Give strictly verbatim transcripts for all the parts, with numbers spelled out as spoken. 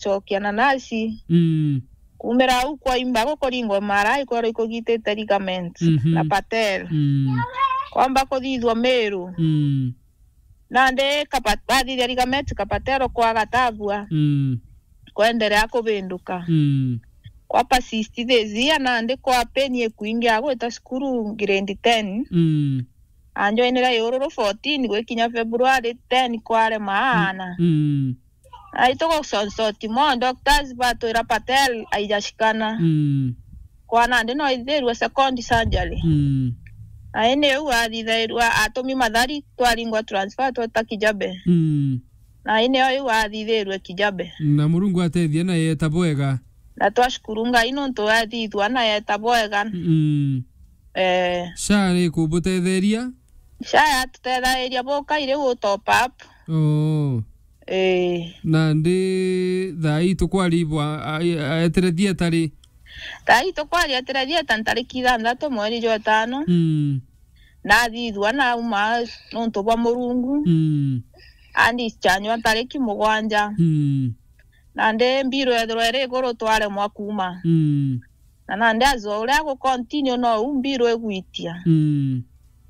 gucokia na nasi. Mm. Kumira au kwaimba gukuringwa mara ikwero ikugitite ligament Mhm. na patel. Mm. Kwamba kuthithwa Meru. Mm. Nandi kapa-, bathithia ligament ka patel kwaga tabua. Mm. Kwenderea kubinduka. Mm. Kwa persist this year, nandi kwa pain ikwingi agwita cukuru grade ten. Mm. Anjoinire Iururu fourteen gwikinya February ten kwarema aana. Mm. Na ituguconsort mo, doctors batwira patel aijashikana. Mm. Kwa nandi no ithirwe second surgery. Mm. Na indi u athithairua atumi Mathari twaringwa transfer tweta Kijabe. Mm. Na indi o iu athithirwe Kijabe. Na Murungu atethia na yeta bwega. Na twashukuru Ngai nontu athithua na yeta bwega. Mm. Eh. Sha ni kubutetheria? Sha yatutethereria bukai riu u top up. Oh. Eh. Nandi thaa ii tukwaribwa, a-, a-, etire thieta ri? Thaa ii tukwaria etire thieta ntariki ithanthatu mweri jwa itano. Mm. Nathithua nauma nontu bwa Murungu. Mm. Andischarge ntariki mugwanja. Mm. Nandi mbiro ethirwa iri iguru twaremwa kuuma. Mm. Na nandi azoa uria agucontinue nou mbiro igwitia. Mm.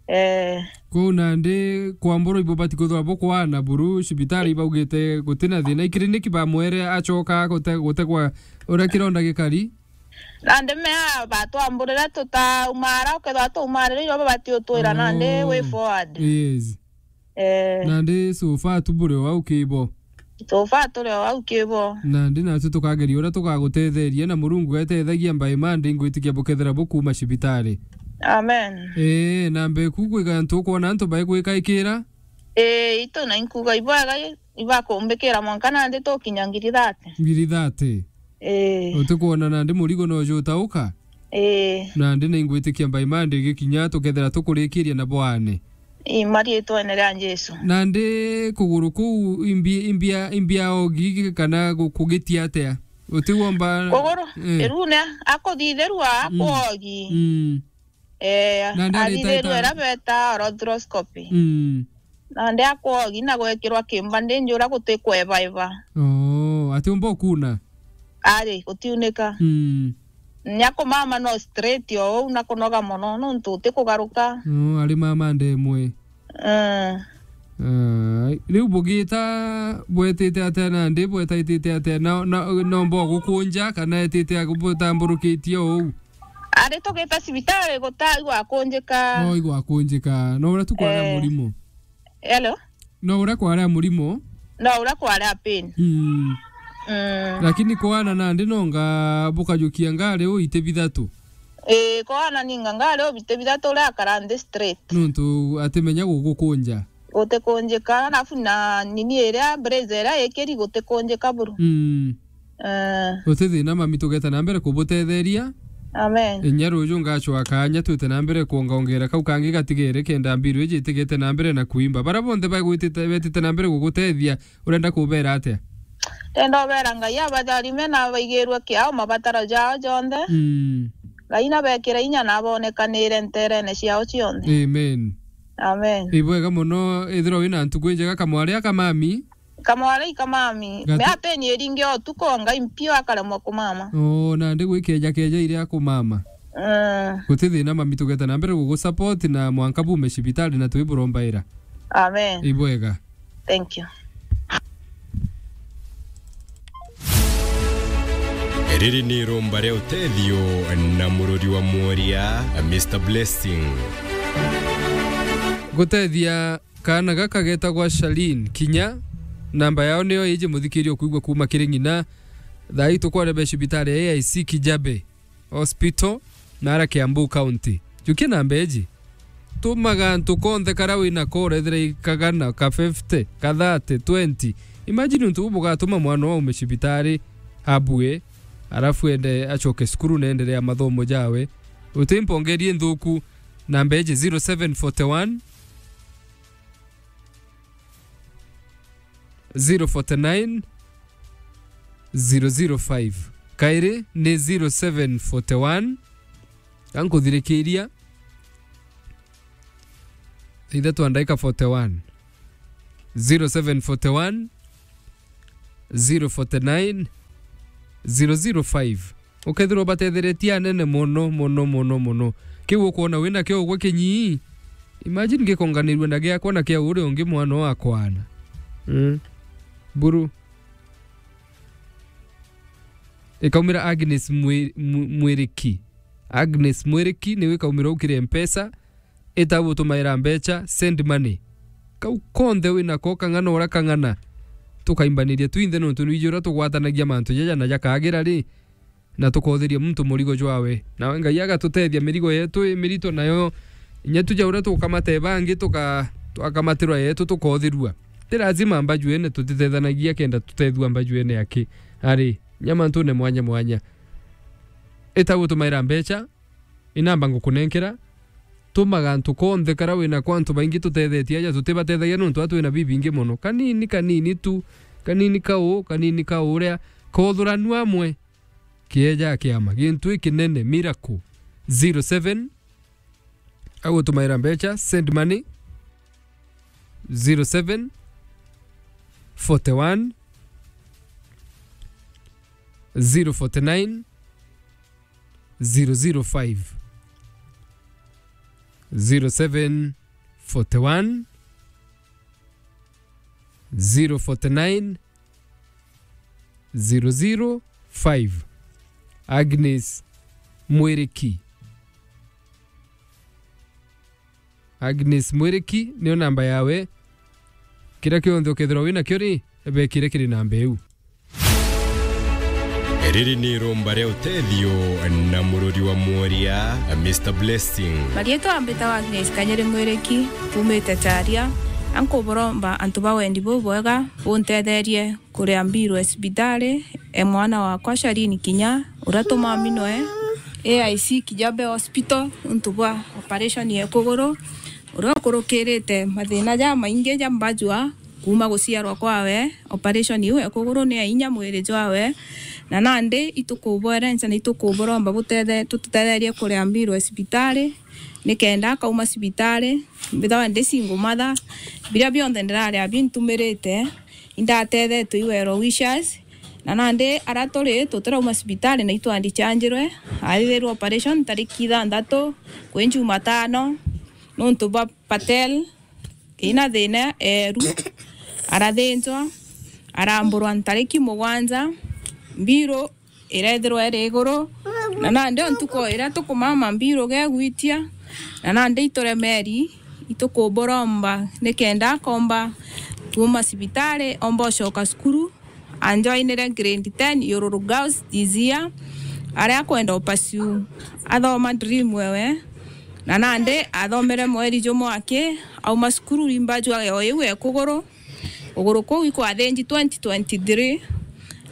Eh. Kou nandi kwambura ibubati kwithirwa bukwaana buru cibitari ibaugite gutina thina. Ikiriniki bamwere acoka gute-, gutegwa uria kironda gikari? Nandi mea batwamburire tutaumara, ukethirwa taumarire irio babati utwira nandi way forward. Yes. Eh. Nandi so far tu buri o au kibo. So far turi o au kibo. Nandi natwi tukageria uria tugagutetheria na Murungu etethagia by Monday ngwitikia bukethira bukuuma cibitari. Amen. Ee, na mbeku kwiga antu ukwona antu baigwikaikira? Ee, itu na inkuga ibwega i-, ibakumbikira mwanka nandi tukinya ngiri thate. Ngiri thate? Ee. Utikwona nandi murigo no jutauka? Ee. Nandi ni ngwitikia by Monday gikinya tukethira tukurikiria na bwane. Ii, mariitwene ria Jesu. Nandi kuguru kuu imbi-, imbia, imbia ogi kana gu-, kugitia atia? Utiwomba. Kuguru, eh, irune akuthithirua, mm, akwogi. Mm. Eh, nandi areta athithirua ita- ira beta arthroscopy. Mm. Nandi akwogi na gwekirwa kimba ndingi uria gutikwebaeba. Oh, atiumba ukuna? Ari, gutiunika. Mm. Nya kumama no straight o uu na kunoga mono nontu utikugaruka. Mm, ari mama ndemwe. Mm. Ai, riu bugita bwetite atia nandi bwetaitite atia? Na, na, nomba gukunja kana etite agu-, butamburukitie o uu? Ari tugita cibitari guta igwakunjika. No igwakunjika. No uria tu kwari a, eh, murimo. Hello? No uria kwari a murimo. No uria kwari a pain. Mm. Mm. Lakini kwana nandi nonga bukajukia ngari u iti bithatu. Ii, kwana ninga ngari u biti bithatu uria akara nthi straight. Nontu atimenya gugukunja. Gutikunjika, alafu na nini iria, brace iria ikiri gutikunjika buru. Mm. Eh. Guti thina mami, tugeta na mbere kubutetheria. Amen. Inya ruju ngacwa kanya twite na mbere kwongaongera kau kangi gatigere kenda mbiru iji itigete na mbere na kuimba. Bara bonthe bagwitite, betite na mbere gugutethia, urenda kubera atia? Ndenda ubera Ngai abatharime na abaigirue kiao mabataro jao jonthe. Mm. Ngai nabekire inya na abonekanire nterene ciao cionthe. Amen. Amen. Ibwega mono, ithirwa wina ntuku injega kamwari aka mami. Kamwari ika mami. Gati- Mea peni iringi o tuku o Ngai mpio akaremwa kumama. Oo, nandi gwikeja keja iria akumama. Mm. Guti thina mami, tugeta na mbere gugusupport na mwanka bume cibitari na twiburombaira. Amen. Ibwega. Thank you. Riri ni iromba ria utethio na murori wa mworia, Mister Blessing. Gutethia Kaana gaka getagwa Charlene Kinya, namba yao niyo iji muthikiria ukwigua kuuma kiri ng'ina. Thaa ii tukwarebe cibitari ya A I C Kijabe Hospital, nara Kiambu County. Jukia namba iji. Tumaga antu konthe karia wina ko, urethira i kagana, ka fifty, ka thirty, twenty. Imagine untu bubu bugatuma mwana waume cibitari abue, arafu ende acoke cukuru na enderea mathomo jawe. Uti mpongerie nthuku, namba iji zero seven forty one, zero forty nine, zero zero five. Kairi ni zero seven forty one. Kankuthirikiria. Ithatu a ndaika forty one. Zero seven forty one, zero forty nine, zero zero five. Ukethirwa ubatetheretie anene mono, mono, mono, mono. Kiu ukwona wina kio ugwe kinyii, imagine gikonganirue na giakwa na kia uria ungi mwana wa kwana. Mm. Buru. Ikaumira Agnes Mwi-, Mwi-, Mwiriki. Agnes Mwiriki niwe ikaumira ukire Mpesa. Ita gutumaira mbecha, send money. Kau konthe winako, kang'ana uria kang'ana, tukaimbaniria twinthe, nontu nwiji uria tugwatanagia mantu jaja na jakagira ri, na tukothiria muntu murigo jwawe. Nawe Ngai agatutethia mirigo yetu i mirito, nayo inya tuja uria tukamata bangi, tuka-, twakamatirwa yetu tukothirua. Ti lazima mbajuene tutithethanagia kenda tutethua mbajuene aki. Ari, nya mantune mwanya mwanya. Ita gutumaira mbecha, inamba ngukunenkera, tuma gantu konthe kara wina kwa antu baingi tutethetie aja tutibatethagia nontu atu twina bibingi mono. Kanini, kanini tu, kanini ka uu, kanini ka uria, kothuranu amwe, kieja kiama, gintu ikinene, miracle. Zero seven, agutumaira mbecha, send money, zero seven, forty one, zero forty nine, zero zero five. Zero seven forty one, zero forty nine, zero zero five. Agnes Mwiriki. Agnes Mwiriki niyo namba yawe. Kiria kionthe ukethirwa wina kio ri, bekire kiri namba iu. Riri ni iromba ria utethio na murori wa mworia, Mister Blessing. Marietwa mbitawa Agnes Kanyiri Mwiriki, kumite Charia. Ankuburomba antu ba wendi bubwega buntetherie kuria mbirwe cibitari e mwana wakwa Shalini Kinya, uria tumaminwe A I C Kijabe Hospital nontu bwa operation ya kuguru, uria ukurukirite mathina jamaingi ja mbajua kuma guciarwa kwawe. Operation iu ya kuguru ni ya inya mwiri jwawe, na nandi itukubwerenca na itukuburomba butethe-, tututetherie kuria mbirwe cibitari, nikenda akauma cibitari, mbithagwa ndi single mother, biria bionthe ndiraria bintumirite, indatethetwe i well wishers, na nandi aria turi tutirauma cibitari na itwandichanjirwe, athithirwe operation tariki ithanthatu kwi Jumatano, nontu bwa Patel ina thina eru, arathinjwa, aramburwa ntariki mugwanja, mbiru irethirwa iri iguru, na nandi o ntuku iria tukumama mbiru gegwitia, na nandi ituremeri, itukuburomba nikenda akomba kuuma cibitari, omba ucoka cukuru, anjoinire grade ten Yururu Girls this year, aria akwenda upaciu athoma dream wewe, na nandi athomere mweri jumwe aki, auma cukuru rimba jwa o iu e kuguru, kuguru kuu ikwathinji twenty twenty-three,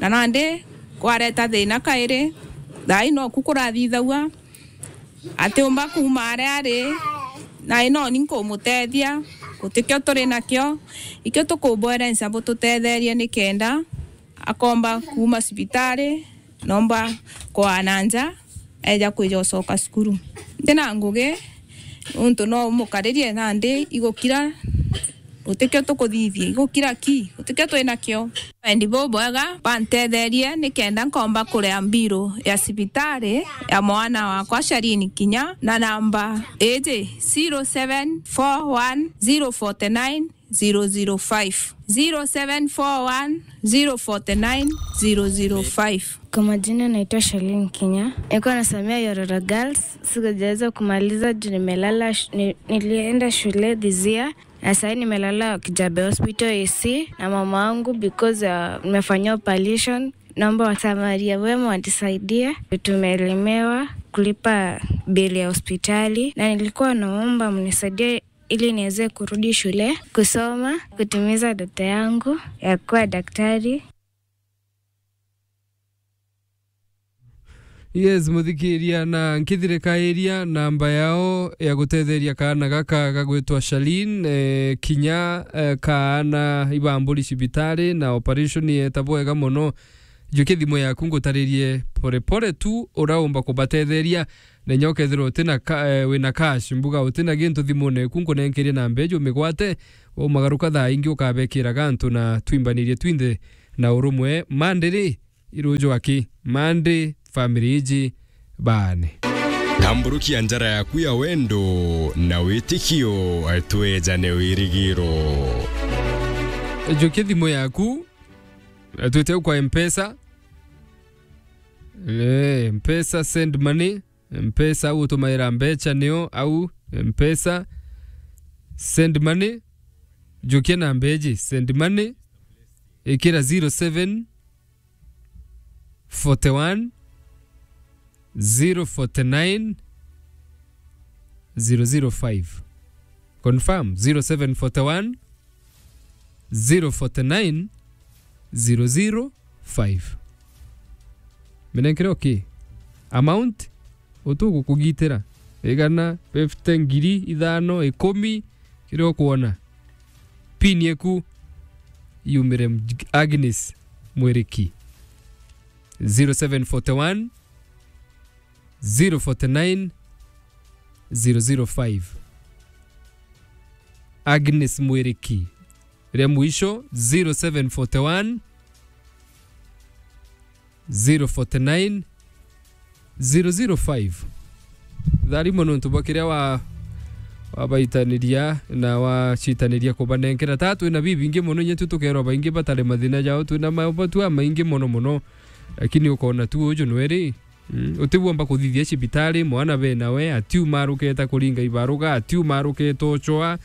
na nandi kwareta thina kairi, thaai noku kurathithagua, atiumba kuuma aria ari, na inoni nkumutethia, gutikio turi nakio, ikio tukubwerenca bututetherie nikenda akomba kuuma cibitari, nomba kwaa na nja, eja kwija ucoka cukuru. Ntina ngugi, nontu no umukaririe nandi igukira, gutikio tukuthithia, igukira ki, gutikio twinakio. Wendi bubwega, bantetherie nikenda nkomba kuria mbiru ya cibitari ya mwana wakwa Shalini Kinya, na namba iji, zero seven four one zero forty nine zero zero five, zero seven four one zero forty nine zero zero five. Kwa majina naitwa Shalin Kinya. Nilikuwa nasomea Yororo Girls. Sikujaweza kumaliza juu nimelala sh-, ni-, nilienda shule this year. Na sasa nimelala Kijabe Hospital A C na mama wangu because, uh, nimefanyia operation. Naomba wasamaria wema watusaidie. Tumelemewa kulipa bili ya hospitali. Na nilikuwa naomba mnisaidie ili niweze kurudi shule, kusoma, kutimiza ndoto yangu ya kuwa daktari. Yes, muthikiria, na nkithirikairia namba yao ya gutetheria kaana gaka gagwitwa Shalin, eh, Kinya, eh, kaana ibamburi cibitari na operation yeta bwega mono. Njukia thimu yaku ngutaririe pore pore tu uraumba kubatetheria. Na inya ukethirwa utina ka-, eh, wina cash, mbuga utina gintu thimune eku, nkunenkerie namba ijo umigwate, waumagaruka thaa ingi ukabekira gantu na twimbanirie twinthe na urumwe. Mandi ri, Iruju aki, Monday, family iji baane. Tamburukia njara yaku ya wendo na witikio, twejane wirigiro. Njukia thimu yaku, twite kwa Mpesa. Eh, Mpesa, send money. Mpesa au utumaira mbecha nio au Mpesa. Send money. Njukia namba iji, send money. Ikira zero seven forty one, zero forty nine, zero zero five. Confirm, zero seven forty one, zero forty nine, zero zero five. Minenkere okay. Amount utugukugitira. Igana, fifty, ngiri ithano, ikumi, kiria ukwona. Pin yeku yumire Mj-, Agnes Mwiriki. Zero seven forty one, zero forty nine, zero zero five. Agnes Mwiriki. Ria mwisho, zero seven forty one, zero forty nine, zero zero five. Tharimo nontu bwa kiria wa-, wabaitaniria na wacitaniria kubanenkera. Ta twina bibingi mono, inya tu tukerwa baingi batari mathina jao, twina maubatu amaingi mono mono. Lakini ukona tu uju nweri, mm, utibwomba kuthithia cibitari, mwana be nawe, atiu maruketa kuringa ibaruga, atiu maruketa uchoa,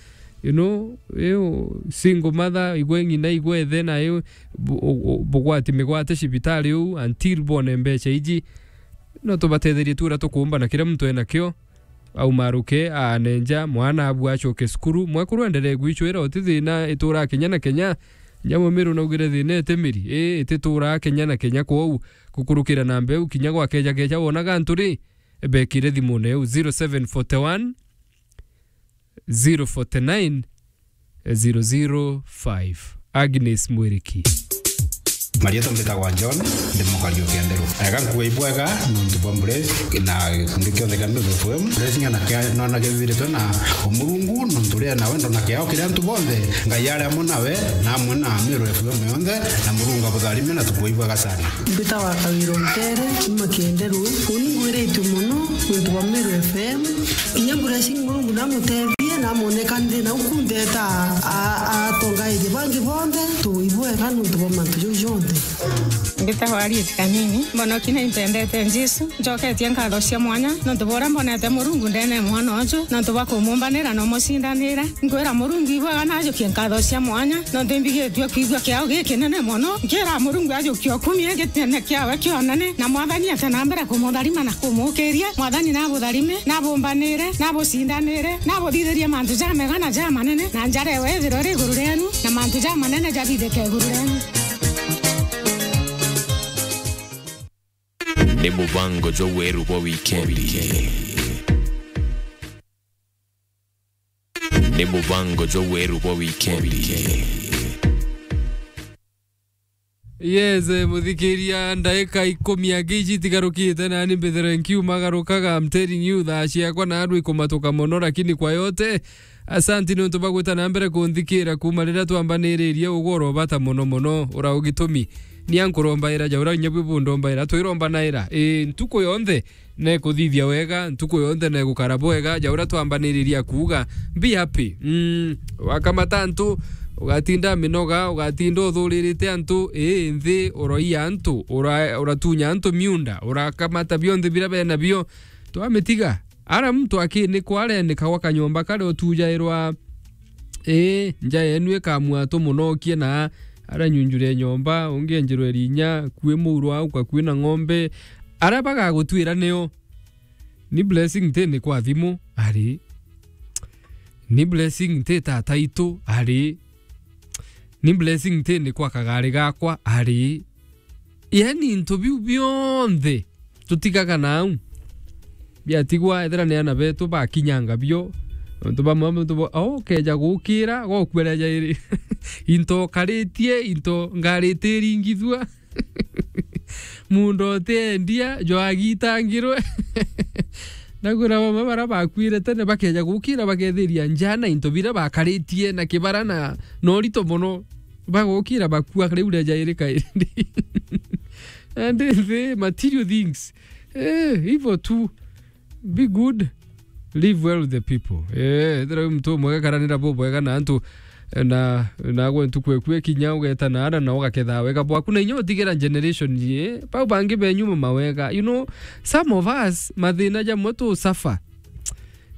you know, iu single mother, igwe ng'ina, igwe ithe, na iu bu-, u-, u-, bugwati migwate cibitari uu until bone mbecha iji. No tubatetherie tu uria tukuumba na kiria muntu enakio. Au maruke, aanenja, mwana abu acoke cukuru. Mwekuru enderee gwicwira, uti thina itura Kenya na Kenya. Nyamumiru naugire thina iti miri, ii, itituraa Kenya na Kenya. Kwou, gukurukira na mbeu kinya gwakeja keja wonaga antu ri, bekire thimune eu zero seven forty one, zero forty nine, zero zero five. Agnes Mwiriki. Marietwa mbitagwa John, ndi mukari o Kienderu. Ega nkuga ibwega nontu bwa Bless na gikundi kionthe kia Meru F M. Bless ng'ana kia nona kibiritwe na Murungu nontu ria na wendo na kiao kiri antu bonthe. Ngai ari amwe nawe na amwe na Meru F M yonthe, na Murungu abutharime na tukuga ibwega sana. Mbitagwa Kawira Ntere, kuma Kienderu. Uni ngwiritue mono nontu bwa Meru F M. Kinya Blessing Murungu namutethie, namoneka nthi na uku ntheta a-, a-, atongairie bangi bonthe, tuibwega nontu bwa mantu jau jonthe. Mbitagwa Harriet Kanini, mbonoki na impendete Jesu, njoketie nkatho cia mwanya nontu bwa uria mbonete Murungu ndene mwana uju, nontu bwa kumumbanira na umucindanira. Nkwira Murungu ibwega na ajukie nkatho cia mwanya, nontu imbigitue kwigua kiao gikinene mono. Nkira Murungu ajukie ukumie gitene kiawe kionene, na Mwathani ate na mbere kumutharima na kumukiria. Mwathani nabutharime, nabumbanire, nabucindanire, nabuthithirie mantu jamega na jamanene, na njara ewe ithirwe iri iguru rienu, na mantu jamanene jathithike iguru rienu. Ni mubango jwa weru bwa wikendi. Ni mubango jwa weru bwa wikendi. Yes, eh, muthikiria, ndaika ikumi angi iji itigarukite, nani mbithere nkiumagarukaga. I'm telling you, thaa ciakwa na andu ikumatuka mono, lakini kwa yote, asanti nontu bwa gwita na mbere kunthikira kuma riria twambaniririe. Ugoro bata mono mono, ura ugitumi. Ni ankurombaira ja ura inya bwi bundombaira, twirombanaira, ii, ntuku yonthe. Nekuthithia wega, ntuku yonthe negukara bwega, ja uria twambaniriria kuuga, be happy. Mm, wakamata antu, ugatinda minoga, ugatinda uthuririte antu, ii, nthi, uroia antu, ura-, uratunya antu miunda, urakamata bionthe bira bena bio, twamitiga. Ara muntu akinikwa arenikagwa kanyomba karia utujairwa, ii, nja yenu ikamua tumunokie na aranyunjure nyomba, ungi enjerwe rinya, kwi muuro au, kakui na ng'ombe, aria bagagutwira nio. Ni Blessing nti ni kwa thimu, ari. Ni Blessing nti tata itu, ari. Ni Blessing nti ni kwa kagari gakwa, ari. Yani, into biu bionthe tutigaga nau. Biatigwa, ethira ni ana betu bakinyanga bio. Antu bamwe, antu bo, o, keja gukira, gokua ria jairi. Into karitie, into ngarite iringithua. Muunda utiendia, jwagitangirwe. Nakwira bamwe bara bakuire tene, bakeja gukira, bakethiria njaa na into bira bakaritie na kibara na, na urito mono. Bagukira bakua riu ria jairi kairi. And the material things. Eh, hivyo tu. Be good. Live well with the people. Eh, ethira wi muntu umwega, karanira bubwega na antu, eh, na, na gwe ntuku eku ekinya ugeta na ara na ugaketha wega bwaku na inya utigira generation ye. Pau bangi benyu mawega. You know, some of us, mathina jamwe tu suffer.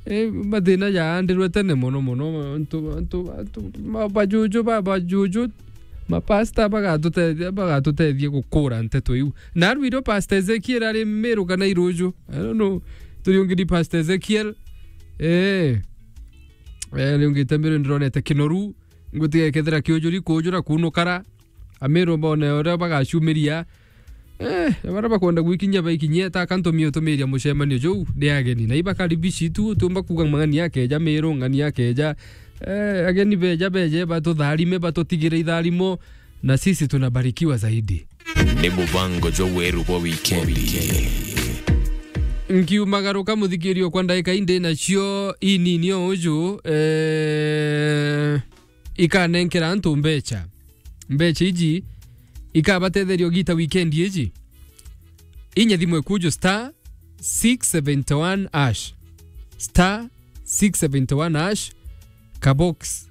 Eh, mathina jaandirwe tene mono mono, antu, antu, antu, ma-, bajuju, ba-, bajuju, mapasta bagatutethia, bagatutethia gukura nteto iu. Na aru irio Pastor Ezekiel ari Meru kana Iruju. I don't know. Turiungiri Pastor Ezekiel. Eh. Eh, riungite Meru ndironete Kinoru. Ngutiga ikethira kiujuri kujura kunukara. Ameru bone uria bagacumiria. Eh, baria bakwenda gwikinyia baikinyie, ta kantumie utumiria mucemanio juu ndi ageni. Na ibakaribici tu, utiumba kuuga mang'ani akeja, Meru ng'ani akeja. Eh, ageni beja beje, batutharime, batutigire itharimo, na sisi tunabarikiwa zaidi. Ni mubango jwa weru bwa wikendi. Nkiumagaruka, muthikirio, kwa ndagika indi nacio inini o uju, eh, ikanenkera antu mbecha. Mbecha iji ikabatetheria ugita weekend iji. Inya thimu ikuju star six seventy one hash. Star six seventy one hash. Ka box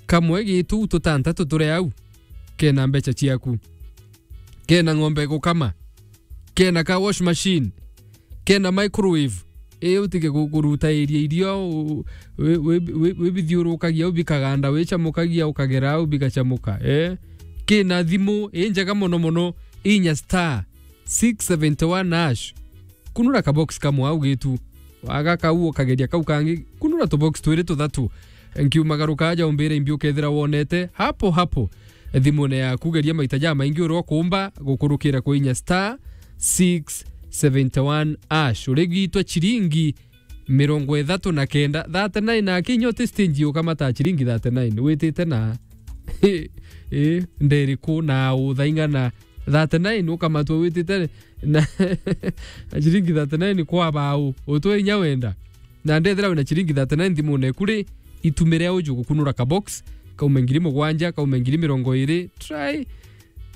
kamwe gitu tutantatu turi au. Kena mbecha ciaku. Kena ng'ombe gukama. Kena car wash machine. Kena microwave. Ii utige ku-, kurutairia irio, u-, wi-, wi-, wi-, wibithiurukagia, ubikaganda, wichamukagia, ukagera au, bigachamuka. Eh? Kina thimu, ii njega mono mono, inya star six seventy one hash. Kunura ka box kamwe au gitu. Waga kau, ukageria kau kangi, kunura tu box twiri tuthatu. Nkiumagaruka aja umbire imbi ukethira wonete, hapo hapo. Thimune yaku, geria maita jamaingi uria ukumba gukurukira kwi inya star six seventy one hash. Urigitwe chiringi mirongo ithatu na kenda, thirty nine, na kinya uti stage ukamata chiringi thirty nine. Witite na, eh, nderiku na uthaing'ana thirty nine ukamatwa witite na, na chiringi thirty nine kwa bau. Utwe inya wenda. Na ndethira wina chiringi thirty nine thimune eku ri, itumire uju gukunura ka box, kaume ngiri mugwanja, kaume ngiri mirongo iri, try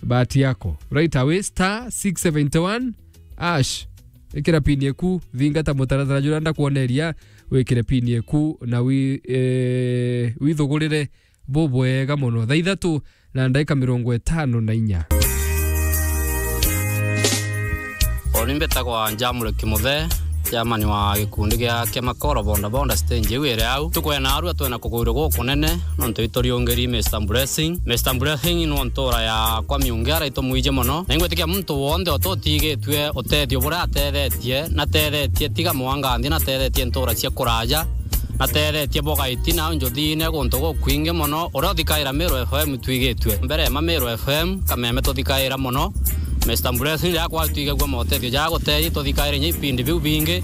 bahati yako. Right away, star six seventy one hash. Ikira pin eku, thingata mutaratara juria ndakwoneria, wikire pin eku na wi-, eh, withugurire bubwega mono. Thaa ithatu na ndagika mirongo itano na inya. Uni mbitagwa Njamure Kimuthe, chairman wa gikundi gia, kia Makoro Bonda Bonda stage iu iri au. Tukwena arua twena kugwirwa gukunene, nontu ituriungiri Mister Blessing. Mister Blessing ni ntura ya kwa Miungi ara itumwiji mono. Na ingwitikia muntu wonthe ututigitue utethio buria atethetie, natethetie tiga mwanga nthi, natethetie ntura cia kuraja. Natethetie bogaiti na njuthine guntu gukwingi mono. Uria uthikaira Meru F M twigitue. Mbere ma Meru F M, kameme tuthikaira mono. Mister Blessing, riria kwa twigagua motethio ja gutethi, tuthikaire inya ipindi biu bingi.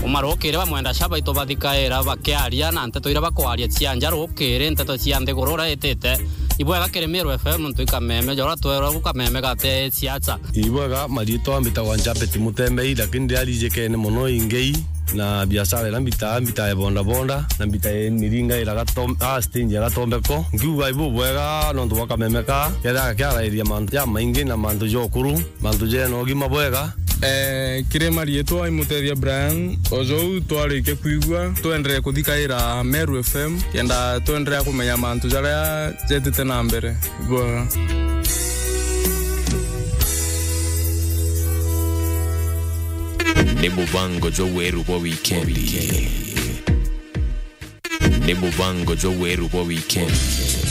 Umarukire bamwenda ca baitu bathikaira bakiaria na nteto iria bakwaria cia nja rukiri, nteto cia nthiguru uria itite. Ibwega kiri Meru F M ntu ikameme, jora twerwa kameme gate siasa. Ibwega, mariitwa mbitagwa Njabeti Mutembei, lakini ndiarijikene mono ingei na biashara iria mbitaa, mbitaa ya bonda bonda, na mbitaa ya miringa ira Gatom-, ah, stage ya Gatombeko. Nkiuga ibu bwega nontu bwa kameme ka, kethira kiarairia mantu jamaingi na mantu ja ukuru, mantu jena ugima bwega. Eh, kiri mariitwa imutethia Brian, ojou twarikia kwigua, twenderee kuthikaira Meru F M, kenda twenderee kumenya mantu jaria jetite na mbere. Bwega. Ni mubango jwa weru bwa wikendi. Ni mubango jwa weru bwa wikendi.